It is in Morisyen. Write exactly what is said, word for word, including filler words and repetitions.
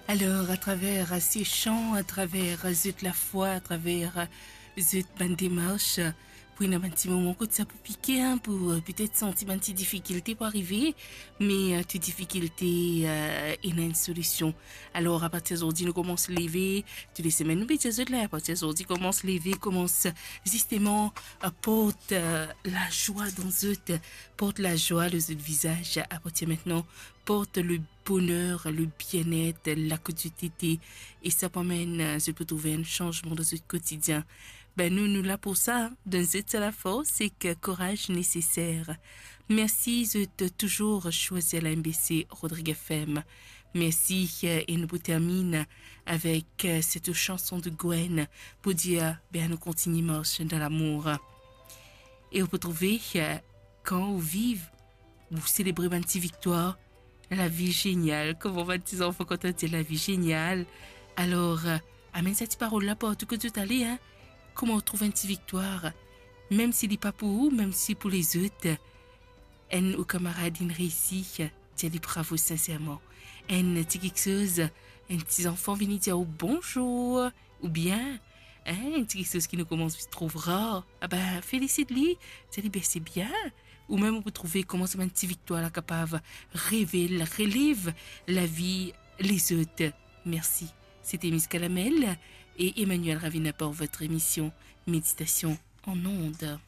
Alor, atraver se san, atraver zot lafwa, atraver zot bann demars, pou ena bann ti moman kot sa pou pike, hein, pou, euh, petet santi bann ti difikilte pou arive, me, euh, tou difikilte, euh, ena enn solision. Alor, apartir zordi, nou koumans leve, tou le semenn nou pe dir zot la, apartir zordi, koumans leve, koumans zisteman, euh, port, euh, lazwa dan zot, port lazwa lor zot vizaz, apartir aster, port le boner, le bienet, la kot zot ete, e sa pou amenn, euh, zot pou trouve enn sanzman dan zot kotidien. Be nou, nou la pou sa, donn zot sa lafors ek kouraz neseser. Mersi zot touzour swazir la M B C Rodrigues F M. Mersi, euh, e nou pou termine avek, euh, set sanson de Gwen pou dir, be nou kontigne mars dan lamour. E ou pou trouve, euh, kan ou viv, ou selebre bann ti viktwar, lavi zenyal. Kouma bann ti zanfan kontan dir lavi zenyal. Alor, euh, amenn sa ti parol la partou kot zot ale, hein. Kouma ou trouv enn ti viktwar, mem si li pa pou ou, mem si pou lezot, enn ou kamarad inn reisi, dir li bravo sinserman. Enn ti kiksoz, enn ti zanfan vini dir ou bonzour, oubien, hein, enn ti kiksoz ki nou koumans trouv rar, ah ben, felisit li, dir li, be se bien. Ou mem ou pou trouve kouma sa bann ti viktwar la kapav revel, relev lavi lezot. Mersi. C'était Miss Kalamel et Emmanuel Ravina pour votre émission Méditation en ondes.